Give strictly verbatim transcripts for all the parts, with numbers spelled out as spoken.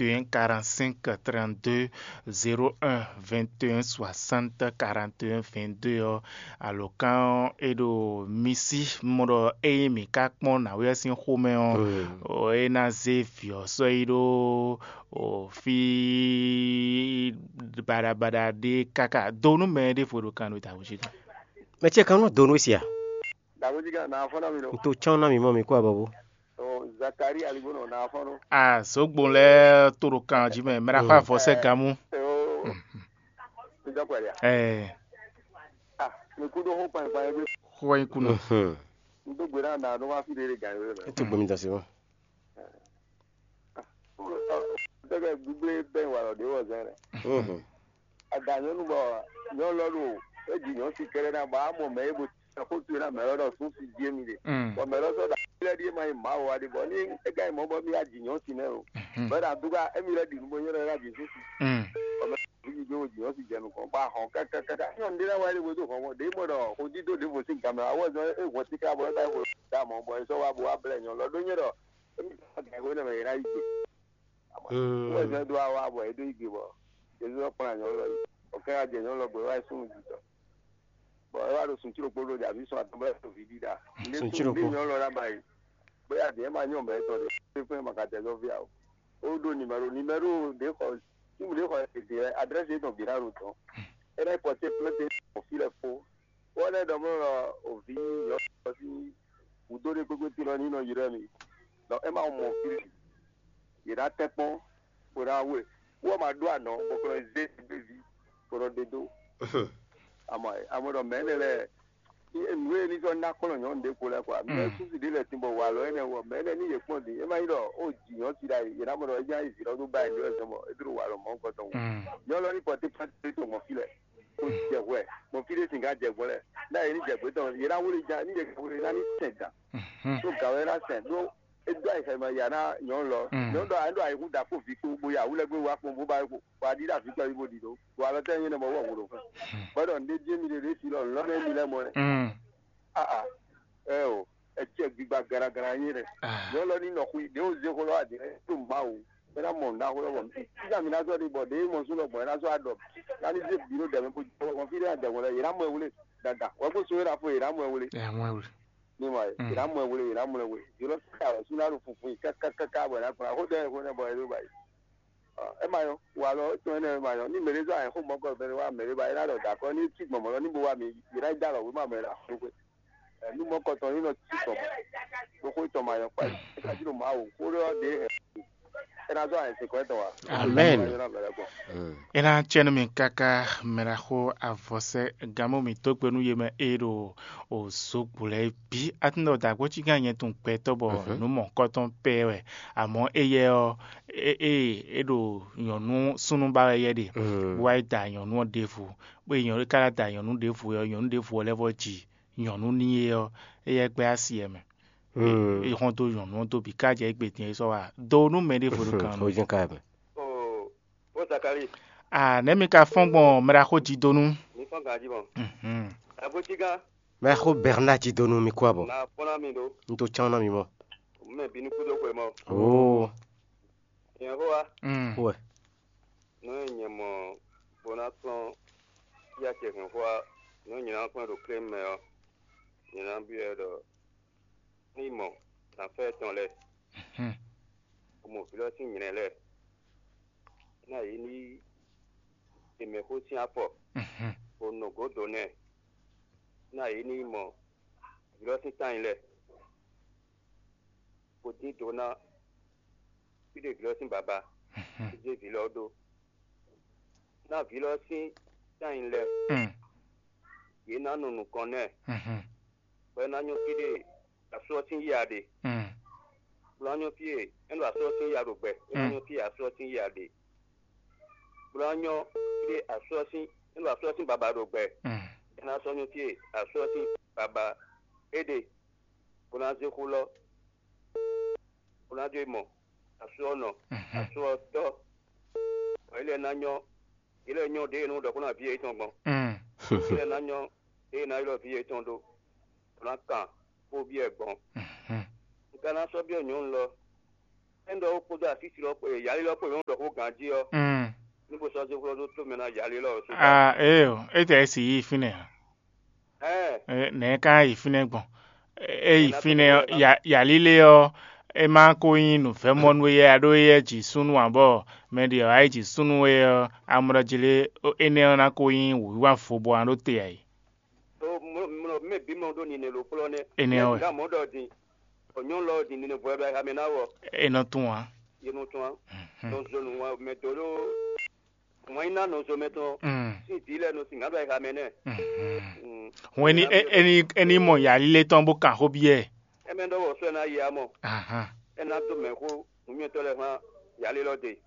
vingt et un quarante-cinq trente-deux, zéro un vingt et un soixante quarante et un vingt-deux ɔ́, alǒkan ɔ́ é ɖo misi mɔ ɖɔ ényí mǐ ka kpɔ́n nǎwe ɔ́ sín xomɛ ɔ́, é ná zé vǐ ɔ́ sɔ́ yi ɖó fí baɖabaɖa ɖé káká dó nú mɛ ɖěvo ɖo kan ɖo dǎwe jí kan. Mɛ ce kan nɔ do nú sia. Dǎwe jí kan nǎ fɔ́n ná mi ɖo. N to cán ná mi mɔ mi kó abɔbɔ. Zakari aligbónɔ nǎ fɔ́n ɖó. A zǒgbɔn lɛ́ɛ tó ɖo kan jí mɛ mɛ ɖaxó avɔ sɛ gamú. Ní dɔkpɛ ɖia. Ɛɛ. Ah, mi kú ɖó xó kpanyikpanyi gbé. Xó wá nyí kú nɔ. N dó gbe ná nà ɖó wá fí ɖé ɖé gǎn yó lɛ. Ètò gbomi dasi wọn. Tẹ́gẹ́ gbígbé bẹ́ẹ̀ wà lọ́dẹ wọ̀ zẹ́ rẹ̀. Àdá nyɔ́nu bɔ nyɔ́nu lɔ ɖo é ji nyɔ́ si kɛlɛ ná bɔ á mɔ mɛ é bo xó tu ná mɛ lɔ ɖɔ sún si jí émi ɖe. Bɔ mɛ lɔ sɔ́ ɖo afi lɛ́ɛ ɖíe ma nyí Mawu wá ɖe bɔ ní é ka nyí mɔ̌ bɔ mí wá ji nyɔ́ si nɛ́ o. Bɔ é ɖo adúgbò émi lɛ́ɛ ɖi nǔ bó nyɔ́ ɖɔ é ná ji sún si. Bɔ mɛ lɔ ɖo ji dó ji nyɔ́ si jɛ nukɔn bɔ a hɔn kákákáká nyɔ́nu ɖé ná wá é ɖe bo dó hɔn bɔ ɖě mɔ ɖɔ xó dídó ɖěvo sín gan mɛ awɔzɔn é hɔn tíká bɔ é ka xo dá mɔ bɔ é sɔ́ wá bo wá blɛ́ nyɔ́nu lɔ ɖó nyɔ́ ɖɔ émi ka gǎn xó nɛmɛ é ná yi gbe. Wɛ zɔn do awa bɔ e do yi gbe bɔ Jezu ɔ́ kplɔ́n anyɔ̌ lɔ yi. Bɔ kɛ wá jɛ nyɔ̌nu lɔ gbe wá yi súnnu jǐtɔn. Bɔ é wá ɖo sun cíɖokpó ɖó jà mǐ sɔn atɔn bɔ é ɖo vǐ ɖíɖá. Sun cíɖokpó. Ndé nyɔ̌nu lɔ ná ba yi. Bóyá dě ma nyɔ mɛ tɔn ɖé fɛn ma ka tɛ zɔ́n fí ǎ o. Ó ɖó nimɛro nimɛro ɖě xɔ símu ɖě xɔ èdè adrɛ́sì yětɔn bǐ ná ɖo tɔn. É ná yi pɔtɛ́ plɛ́ntɛ fí lɛ́ɛ fó. Wɔ lɛ́ ɖɔ mɔ ɖɔ òvi nyɔ̌nu ɔ́ sín wǔdó ɖé kpékpé tlɔ ní nɔ ylɔ́ mì. Ɖɔ é ma mɔ fí ɖé. Yě ná tɛ́ kpɔ́n, bó ná we. Wɔ ma ɖó anɔ̌ bɔ kplɔ́n zé gbéví, bó nɔ ɖe dó. Amɔ amɔ ɖɔ mɛ̌ nɛ lɛ́ɛ nǔ e ní sɔ́ ná kplɔ́n nyɔ̌nu ɖé kpo lɛ́ɛ kɔa mɛ súsi ɖé lɛ́ɛ sin bɔ walɔ énɛ́ wɔ mɛ̌ nɛ ní yě kpɔ́n din é má nyí ɖɔ ó jǐ nyɔ̌ si ɖ'ayǐ yě ná mɔ ɖɔ é nya yi vǐ lɔ dó ba ɛ ɖó ɛ zɔn bɔ é dó walɔ mɔ̌ kɔtɔn wɔ. Nyɔ̌nu lɔ ní pɔtí pɔtí tó mɔ fí lɛ́ɛ. Kó jɛ hwɛ, bɔ fí ɖé sǐn ká jɛ gbɔn lɛ́ɛ. Ná yě ní jɛ gbě tɔn, yě ná wlí jan, ní yě ká wlí ná ní sɛn dan. Ɖó gǎn wɛ ná sɛn, ɖó é dó ayǐ xɛmɛ ya ná nyɔ̌nu lɔ. Nyɔ̌nu ɖɔ ayǐ ɖo ayǐhún da kpó vǐ kpó, bó ya wú lɛ́ gbé wá kpɔ́n, bó ba kó wá ɖi ɖo avǐ tɔn yí bó ɖi ɖó. Bó alɔ tɛ́ nyí nɛ mɔ wɔ wǔ ɖo fún. Bɔ ɖɔ nǔɖé jí émi ɖe ɖě fi lɔ, lɔ̌ nɛ émi lɛ́ mɔ ɛ. Aa, ɛ o, ɛ cɛ gbigba garagara nyí ɖɛ. Nyɔ̌nu lɔ ní nɔ xwí, ɖě wǒ zé xó lɔ wá ɖě tó Mawu. É ná mɔ nǔɖaxó lɔ bɔ sísá mi ná sɔ́ ɖi bɔ ɖě mɔ sú lɔ gbɔn é ná sɔ́ aɖɔ ná ní zé bǐ ɖo dɛ̌ mɛ bó jɔ fí ɖé adɛ̌ hwɛ̌n lɛ́ɛ yě ná mɔ ɛ wlé dada wɛ̌ kó só é ná fó yě ná mɔ ɛ wlé. Ɛ mɔ ɛ wlé. Ní ma yě ná mɔ ɛ wlé yě ná mɔ ɛ wlé yě lɔ ká wɛ sú ná ɖo funfun yi kákákáká bɔ é ná kplá xó ɖɛ xó nɛ bɔ é ɖó ba yi. É ma nyɔ walɔ étɔn énɛ́ é ma nyɔ ní mɛɖé zɔ́ ayǐxó mɔ̌kɔ bɛ́ wá mɛɖé ba é ná ɖɔ dǎ kɔ́ ní cí gbɔn mɔ̌ lɔ ní bo wá mi yě ná dó alɔ wěma mɛ ɖo axó ɖó xwé. Nú mɔ̌kɔtɔn ní nɔ ci tɔn bɔ xó tɔn ma nyɔ kpa é ka jí ɖo Mawu xó ɖé ɔ́ ɖě é ná zɔ́ ayǐ sɛkɔ́ tɔn wá. Amɛn. É ná cɛ nú mi káká mɛɖaxó avɔsɛ gánmɔ mǐtɔn gbe nú yě mɛ e ɖo òzogbo lɛ́ɛ bǐ. Atúndɔ dǎgbó cí gán nyɛ tun gbɛtɔ́ bɔ nǔ mɔ̌kɔtɔn pɛ́ wɛ, amɔ̌ éyɛ́ ɔ́, é é é ɖo nyɔ̌nu súnnu ba wɛ yɛ ɖe, bó wá yi da nyɔ̌nu ɔ́ ɖěvo, bó yi nyɔ̌nu é ka ná da nyɔ̌nu ɖěvo ɔ́, nyɔ̌nu ɖěvo ɔ́ lɛ́ vɔ ji nyɔ̌nu n'i é ɔ́, éyɛ́ gbɛ́ asi ɛ mɛ. É hɔn dó nyɔ̌nu ɔ́ dó bǐ ká jɛ égbé din é sɔ́ wá dó nú mɛ ɖěvo ɖo kan nú. Xó jɛ́n ka mɛ. Ó Zakali, Ah, nɛ̌ mi ka fɔ́n gbɔn mɛɖaxó jí dó nú? Mi fɔ́n ganjí mɔ. Mhm. Agbócígán, Mɛɖaxó Bernard jí dó nú mi kú abɔ. Na fɔ́n ná mi ɖó. Un tó cán ná mi mɔ. Mɛ bínú kúdó xwe mɔ. Oo. Nyɛ xó wa. Mm. Wɛ. Nú nyɛ mɔ bó ná kplɔ́n yá ce hɛn xó wa, nú nyɛ ná kplɔ́n ɖo klé mɛ ɔ́, nyɛ ná byɔ́ ɛ ɖɔ ní mɔ nǎfɛ́ tɔn lɛ́ɛ, bó mɔ vǐ lɔ sín nylɛ lɛ́ɛ, ná yě ní yi è mɛ xó sín afɔ, bó nɔ gǒ dó nɛ́, ná yě ní yi mɔ vǐ lɔ sín tányi lɛ́ɛ, bó dín dǒ ná fí ɖé vǐ lɔ sín baba, bó zé vǐ lɔ ɖó. Ná vǐ lɔ sín tányi lɛ́ɛ, yě ná nu nukɔn nɛ́, bɔ é ná nyɔ́ fí ɖé asú ɔ́ sín yá ɖe. Bó ná nyɔ́ fí e é ɖo asú ɔ́ sín yá ɖo gbɛ, é ná nyɔ́ fí e asú ɔ́ sín yá ɖe. Bó ná nyɔ́ fí e asú ɔ́ sín é ɖo asú ɔ́ sín baba ɖo gbɛ, é ná sɔ́ nyɔ́ fí e asú ɔ́ sín baba é ɖe, bó ná zé xó lɔ, bó ná jó yi mɔ asú ɔ́ nɔ, asú ɔ́ tɔ́, bɔ é lɛ́ ná nyɔ́, é lɛ́ nyɔ́ ɖěe nú ɖɔ kó ná ví yětɔn gbɔn. É lɛ́ ná nyɔ́ ɖěe ná ylɔ́ ví yětɔn ɖó, bó ná kan xó byɔ́ ɛ gbɔn. Un ka ná sɔ́ byɔ́ nyɔ̌nu lɔ, É ɖɔ ó kpódó asísi lɔ kpó yali lɔ kpó yě wɔn ɖɔ xó ganjí ɔ́, Mm. ní bó sɔ́ zé xlɔ́ dó tó mɛ ná yali lɔ ɔ́ só. Ah, éyo, é tɛ si yi fínɛ́ a? Ɛɛ, Ɛ, nɛ̌ ká yi fínɛ́ gbɔn? É yi fínɛ́ ɔ́, ya- yalílé ɔ́, é má ko nyí nǔvɛ́mɔnú éyɛ́ a ɖó éyɛ́ ji súnnu ǎ bɔ mɛ ɖě ɔ́ wá yi ji súnnu é ɔ́, amlɔ jí lé, énɛ́ ɔ́ ná ko nyí wǔyíwá vo bɔ ná ɖó te ǎ é. Mɛ bǐ mɔ ɖó nine ló kplɔ́ nɛ́. Énɛ́ ɔ́ wɛ. Ná mɔ̌ ɖɔ din, ɔ̌ nyɔ́ lɔ din nine vɔ ɛ ɖo ayixa mɛ ná wɔ. É nɔ tún ǎ. Yě nɔ tún á. Mhm. Nɔ zɔn nǔ wá mɛ dó ɖó wǎn yí ná nɔ zɔn mɛ tɔn. Mm. Sín dǐ lɛ́ɛ nɔ sin ŋǎ ɖo ayixa mɛ nɛ́. Mhm. Mm. Hwɛn ní Ná é- é ní é ní mɔ yalílé tɔn bó kan xó byɔ́ ɛ. Ɛ mɛ ɖɔ wɔ sɔ́ ɛ ná yi amɔ. Ahan. Ɛ ná dó mɛ xó nǔmyɔtɔ́ lɛ́ɛ xlán yalé lɔ de.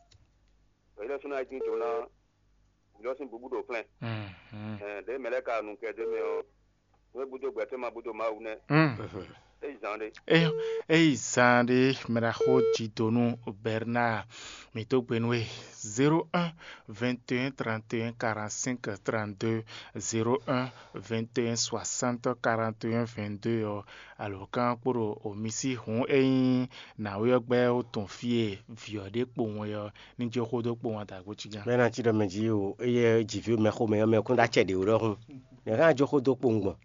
Bɔ yě lɛ́ sú ná yi dín dǒ ná vǐ ɔ́ sín bǔbú ɖo flɛ́n. Mhm. Ɛɛ, ɖěe mɛ lɛ́ɛ ka nu kɛ ɖ'é mɛ ɔ́, nú é búdó gbɛtɔ́ ma búdó Mawu nɛ́. Mm. É yi zan ɖé. Eyo, eyi zan ɖé mɛɖaxó Jidonu Bernard, mǐ dó gbe nú we. Zéro un vingt et un trente et un quarante-cinq trente-deux, zéro un vingt et un soixante quarante et un vingt-deux ɔ́, alǒkan kpo ɖo omi sí hǔn é nyí nǎwe ɔ́ gbɛ́ ó tɔn fí e vǐ ɔ́ ɖe kpowun é ɔ́, ní jó xó dó kpowun adǎgbo cí gán. Mɛ ná cí ɖɔ mɛ jí o, eye jǐví mɛ xomɛ ɔ́ mɛ kún ɖó acɛ ɖě ó ɖɔhun. Nɛ̌ ká jó xó dó kpowun gbɔn?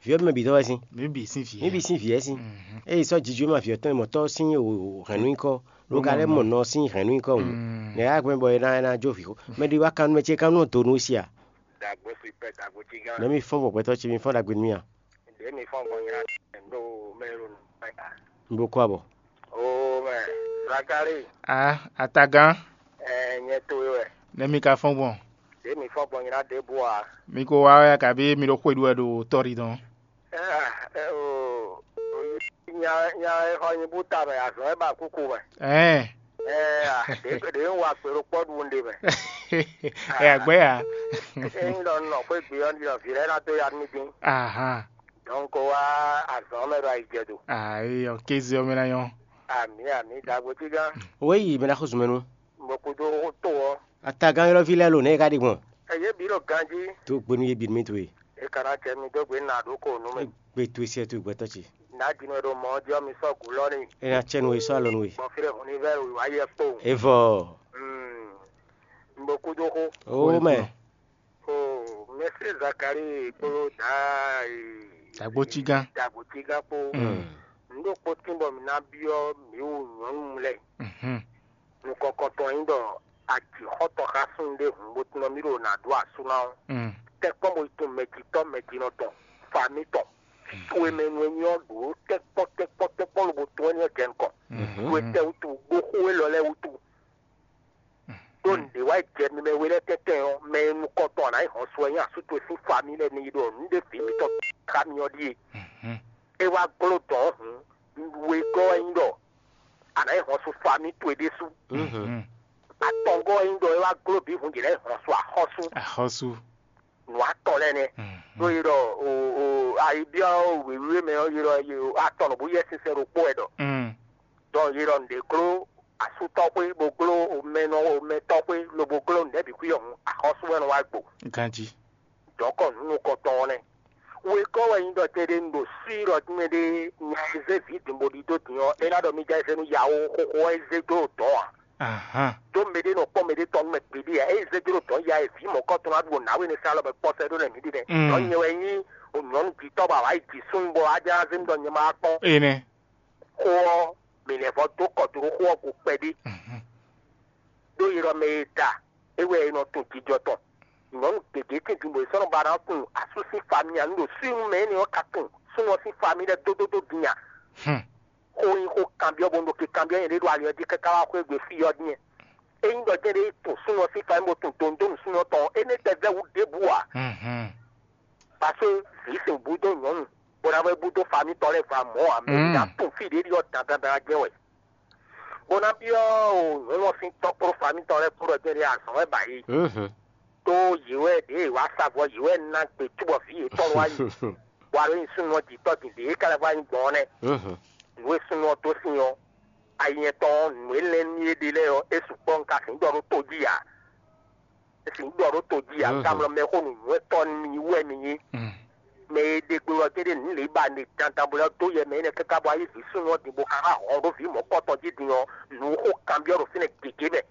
Vǐ ɔ́ mɛ bǐ dɔ́ wɛ sín. Mǐ bǐ sín vǐ. Mǐ bǐ sín vǐ wɛ sín. Mhm. Eye sɔ́ jijǔ ma vǐ ɔ́ tɔn e mɔ̌ tɔ́ sín hɛ̌nnu nyíkɔ, ló ka lɛ́ mɔ nɔ sín hɛ̌nnu nyíkɔ hǔn. Mm. Nɛ̌ ká gbɛn bɔ é ná é ná jó vǐ xó? Mɛ ɖé wá kan nú mɛ ce ká nú donu sí a? Dagbo si pɛ dagbo cí gán. Nɛ̌ mi fɔ́n bɔ gbɛtɔ́ ce mi fɔ́n ɖagbe nú mì a? Ɖě mi fɔ́n gbɔn nyina ɖo mɛ ɖo nɔ. N bo kó abɔ. O mɛ, Zakari. A atagán. Ɛ nyɛ to wɛ. Nɛ̌ mi ka fɔ́n gbɔn? Ɖě mi fɔ́n gbɔn nyina ɖěbǔ a? Mi ko wá wɛ a kabi mi ɖo xwe ɖu wɛ ɖo tɔ́ɖi dɔn? Ɛ ɛ o, nya nya e xɔ nyi bú ta mɛ azɔn e ba kúkú mɛ. Ɛɛ. Ɛ a ɖě ɖě ń wa gbèrò kpɔ́ ɖu ɖe mɛ. Ɛ agbɛ́ ya. Ényí ɖɔ un nɔ xwé gbe ɔ́, ɖɔ vǐ lɛ́ɛ ná dó ya nú mì dín. Ahan. Donc wá azɔn mɛ ɖo ayi jɛ do. Ayi ɔ kéze ɔ́ mɛ ná nyɔ́. Ami ami dagbo cí gán. Wéyi mɛ ná xó zun mɛ nú. Mo kúdó tó ɔ́. Atagán ylɔ́ví lɛ́ɛ lo nɛ̌ e ka ɖe gbɔn? Ɛ yě bǐ ɖo ganjí. Tó gbe nú yé bǐ nú mì towe. E ka ná cɛ mi dó gbe nǎ ɖó ko nú mì. Gbe towe sɛ towe gbɛtɔ́ ce. Nǎ din wɛ ɖo mɔ̌ ɔ́ jí ɔ́ mi sɔ́ gǔ lɔ́ n'i. É ná cɛ nú we sɔ́ alɔ nú we. Bɔ fí ɖé hun ní vɛ́ wǎ yɛ kpowun. Evɔ. Un bo kúdó xó. Ó mɛ. O mɛsí Zakari kpódó dǎ e. Dagbo cí gán. Dagbo cí gán kpó. Mm. Nǔ ɖokpó tín bɔ mǐ ná byɔ́ mǐ wu nyɔ̌nu lɛ́ɛ. Mhm. Nukɔn kɔntɔn nyí ɖɔ ajǐxɔ́tɔn xá súnnu ɖé hǔn bó tunɔ mì ɖo nǎ ɖó asú ná ɔ́, Mm. tɛ́nkpɔ́n bo yi tunwun mɛjitɔ́ mɛjinɔ tɔn, famí tɔn, towe mɛ nu e nyí ɔ́ ɖǒ tɛ́nkpɔ́n tɛ́nkpɔ́n tɛ́nkpɔ́n lobo tún ɛ́ n'i ɔ́ jɛ nukɔn. Mhm. Towe tɛ wútu, gbó xó élɔ́ lɛ́ɛ wútu. Ɖó nǔɖé wá yi jɛ mi mɛ we lɛ́ɛ tɛ́ntɛn ɔ́, mɛ e nukɔn tɔn a nǎ yi hɔn sɔ wɛ nyí asú towe sín famí lɛ́ɛ ní yi ɖɔ nǔ ɖé vǐ mitɔn xá mi ɔ́ ɖíe. Mhm. É wá gló dɔ̌n hǔn, wegɔ́ wɛ nyí ɖɔ a nǎ yi hɔn sú famí towe ɖésú. Mhm. Atɔngɔ́ wɛ nyí ɖɔ é wá gló bǐ hǔn jě lɛ́ɛ yi hɔn sú axɔ́sú. Axɔ́sú. Nǔ atɔn lɛ́ɛ nɛ́. Mhm. Ɖó yi ɖɔ o o ayibyɔ́ wěwé mɛ ɔ́ yi ɖɔ yi atɔn nɔ bó yɛ sinsɛn ɖokpó wɛ ɖɔ. Mm. Dɔn yi ɖɔ nǔɖé gló asútɔ́ xwé bó gló mɛnɔ mɛtɔ́ xwé lobo gló nǔɖé bǐ xwí ɔ́ hǔn axɔ́sú wɛ nɔ wá gbo. Ganjí. Dɔ̌nkɔ nǔ nukɔntɔn ɔ́ nɛ́. Wegɔ́ wɛ nyí ɖɔ tɛɖe un ɖo sí ɖɔ mɛ ɖé nya e zé vǐ din bó ɖidó din ɔ́, é ná ɖɔ mì ja eze nú yawo xóxó ɔ́ é zé dó ɖo dɔ̌n ǎ. Ahan. Ɖó mɛɖé nɔ kpɔ́n mɛɖé tɔn nú mɛ gbeɖé ǎ. É zé dó ɖo dɔ̌n ya e vǐ mɔ̌kɔtɔn ná ɖu nǎwe nɛ́ sá lɔ bɔ kpɔ́ sɛ́ ɖó nɛ́ mǐ ɖi nɛ́. Mm. Dɔ̌n nyɛ wɛ nyí nyɔ̌nu jǐtɔ́ bɔ awǎ yi jǐ súnnu bɔ á ján zé mì ɖɔ nyɛ ma wá kpɔ́n. Énɛ́. Xó ɔ́, mǐ lɛ́ vɔ́ dó kɔ dó ɖó xó ɔ́ go kpɛɖé. Mhm. Ɖó yi ɖɔ mɛ e da é wɛ è nɔ tunwun jijɔ tɔn. Nyɔ̌nu gěgé tɛ́ntin bɔ è sɔ́ nɔ ba ná tunwun asú sín fami ǎ. Nú ɖo súnnu mɛ énɛ́ ɔ́ ka tunwun súnnu ɔ́ sín fami lɛ́ɛ dódódó din a? Hmm. Xó nyí xó kanbyɔ́ bónú ɖo ke kanbyɔ́ nyɛ ɖé ɖo ali ɔ́ jí káká wá xwé gbe fí ɔ́ din. Ényí ɖɔ jɛ́n ɖé tunwun súnnu ɔ́ sín fami bó tunwun donu súnnu ɔ́ tɔn ɔ́, énɛ́ tɛ vɛ́ wú ɖěbǔ ǎ. Mhm. Parce que vǐ sin bú dó nyɔ̌nu, bó ná vɛ́ bú dó fami tɔn lɛ́ɛ va mɔ̌ ǎ, mɛ Mm. ná tunwun fí ɖě ɖi ɔ́ dandandan jɛ́n wɛ. Bó ná byɔ́ o nyɔ̌nu ɔ́ sín tɔ́ kpó fami tɔn lɛ́ɛ kpó ɖɔ jɛ́n ɖé azɔ̌ wɛ ba yě. Mhm. Tó yě wɛ ɖěe wǎ sa vɔ yě wɛ ná gbe cóbɔ vǐ yětɔn wá yi. Bɔ alo nyi súnnu ɔ́ jǐ tɔ́ din ɖě é ka lɛ́ vɔ anyi gbɔn ɔ́ nɛ́. Mhm. Nǔ e súnnu ɔ́ dó sin ɔ́, ayi nyɛtɔn ɔ́, nǔ e lɛ́n nú é ɖe lɛ́ɛ ɔ́, é sukpɔ́ un ka sixú ɖɔ ɖó to jí ǎ. É sixú ɖɔ ɖó to jí ǎ, un ka Mhm. mlɔ mɛxó nǔnywɛ́tɔ́ nú mi wɛ mi nyí. Mm. Mɛ e ɖe gbe wɛ kede nǔ lě ba ne dandan bo lɛ́ dó yɛ mɛ énɛ́ káká bɔ ayé vǐ súnnu ɔ́ din bó ka wá hɔn ɖó vǐ mɔ̌kɔtɔn jí din ɔ́, nǔ xó kanbyɔ́ ɖo fínɛ́ gěgé mɛ.